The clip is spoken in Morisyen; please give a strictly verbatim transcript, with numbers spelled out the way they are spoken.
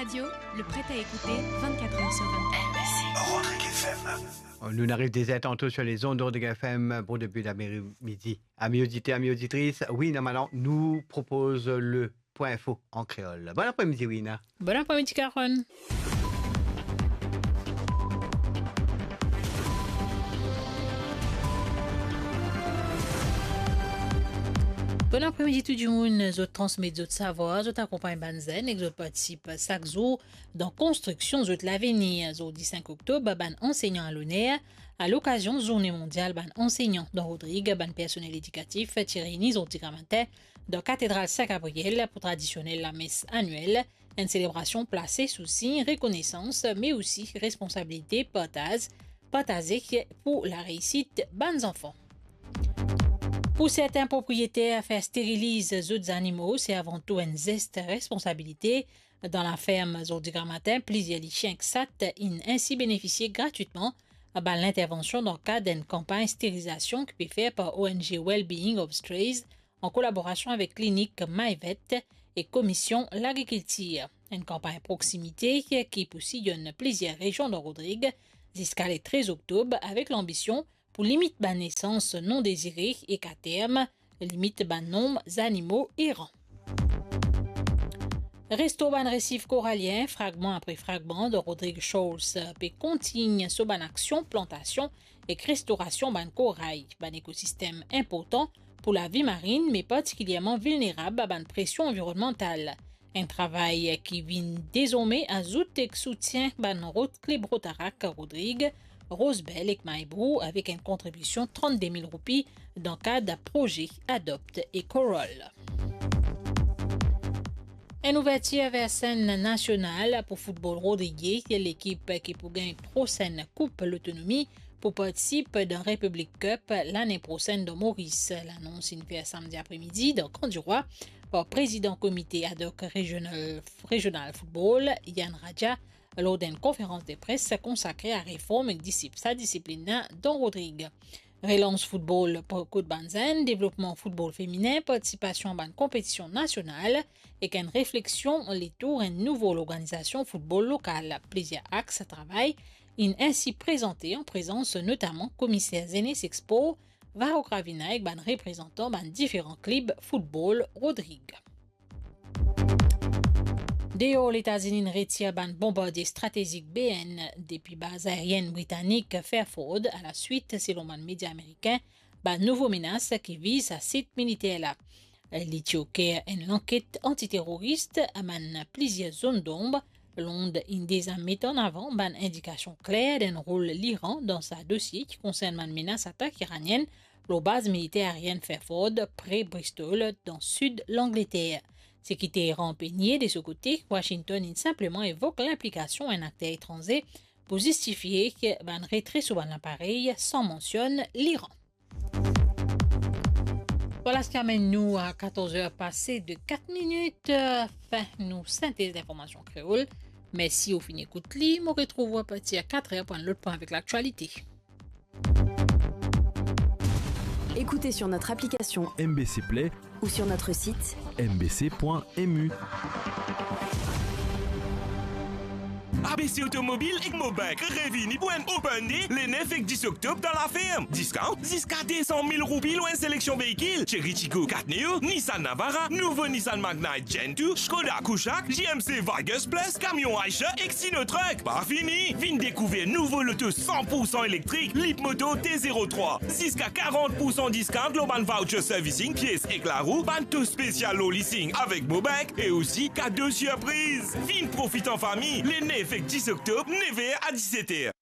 Radio, le prêt à écouter vingt-quatre heures sur vingt-quatre. Rodrigue F M. Nou ariv dezertan sur les ondes de Rodrigue F M pour début d'après-midi. Amis auditeurs, amis auditrices, Wina Malan nous propose le point info en créole. Bon après-midi, Wina. Bon après-midi, Carole. Bon apremidi tou dimoun, zot transmet zot savwar, zot akonpagn bann zenn ek zot partisip sak zour dan konstriksion zot lavenir. Zordi sink oktob, bann ansegnan a loner, a lokazion Zourne Mondial bann Ansegnan dan Rodrig, bann personel edikatif ti reyni zordi gramatin dan Katedral Sin Gabriel pou tradisionel lames aniel, enn selebrasion plase sou sign rekonesans, me osi responsabilite partaz, partaze pou lareisit bann zanfan. Pou sertin propriyeter, fer steriliz zot zanimo, se avan tou enn zes responsabilite. Dan laferm Zordi Gramatin, plizier lisien ek sat inn ensi benefisie gratwitman bann lintervansion dan kad enn kanpagn sterilizasion ki pe fer par O N G Wellbeing of Strays an kolaborasion avek klinik Mayvet ek Komision Lagrikiltir. Enn kanpagn proksimite ki pou siyon plizier rezion dan Rodrig ziska le trez oktob, avek lanbision pou limit bann nesans non dezire ek aterm, limit bann nonb zanimo eran. Restor bann resif koralien, fragman apre fragman, dan Rodrig Shoals pe kontign so bann aksion plantasion ek restorasion bann koray, bann ekosistem inportan pou lavi marin, me partikilierman vilnerab a bann presion anvironnmantal. Enn travay ki vinn dezorme azout ek soutien bann rod-, klib Rotaract Rodrig, Rosebel ek Maybou, avek enn kontribision trannde mil roupi dan kad proze Adopt a Coral. Enn ouvertir ver senn nasional pou foutbol rodrigye, lekip ki pou gagn prosenn Koup Lotonomi pou partisip dan Republic Cup lane prosenn dan Moris. Lanons inn fer samdi apremidi dan Kan Dirwa par prezidan komite ad hoc regional, regional football, Yann Radja, lor d'enn konferans de pres konsakre a reform ek disip-, sa disiplin la dan Rodrig. Relans foutbol pou kot bann zenn, devlopman foutbol feminen, partisipasion a bann konpetision nasional ek enn refleksion letour enn nouvo lorganizasion foutbol lokal. Plizier aks travay inn ensi prezante an prezans notaman komiser zenes ek spor, Varro Gravina ek bann reprezantan bann diferan klib foutbol Rodrig. Deor Letazini inn retir bann bonbardie stratezik B N depi baz aerienn britanik Fairford, alaswit, selon bann media amerikin, bann nouvo menas ki viz sa sit militer la. Li ti oker enn lanket antiteroris, amenn plizier zone d'ombre. Lond inn deza met an avan bann indikasion kler dan rol Liran dan sa dosie ki konsern bann menas atak iranienn lor baz militer aerienn Fairford, pre Bristol, dan sid Langleter. Seki Teheran pe nie de so kote, Washington inn sinpleman evok linplikasion enn akter etranze pou zistifie ki bann retre sou bann laparey san mansionn Liran. Vwala seki amenn nou a katorz er pase de kat minit, fin nou sintez linformasion kreol. Mersi ou finn ekout li, mo retrouv ou apartir kat er pou enn lot pwin avek laktialite. Écoutez sur notre application M B C Play ou sur notre site M B C point M U. A B C Automobile ek Mobank revini pou enn open day le nef ek dis oktob dan laferm. Discount ziska de san mil roupi lor enn seleksion veikil, Chery Tiggo kat Neo, Nissan Navara, nouvo Nissan Magnite Gen two, Skoda Kushaq, G M C Virtus Plus, kamion Eicher ek Sinotruk. Pa fini, vinn dekouver nouvo loto san pour san elektrik, Leapmoto T zero trois. Ziska karant pour san discount lor bann voucher servicing, pies ek larou, bann to spesial lor leasing avek Mobank e osi kado sirpriz. Vinn profit an fami, le nef ek dis oktob, nef er a diset er.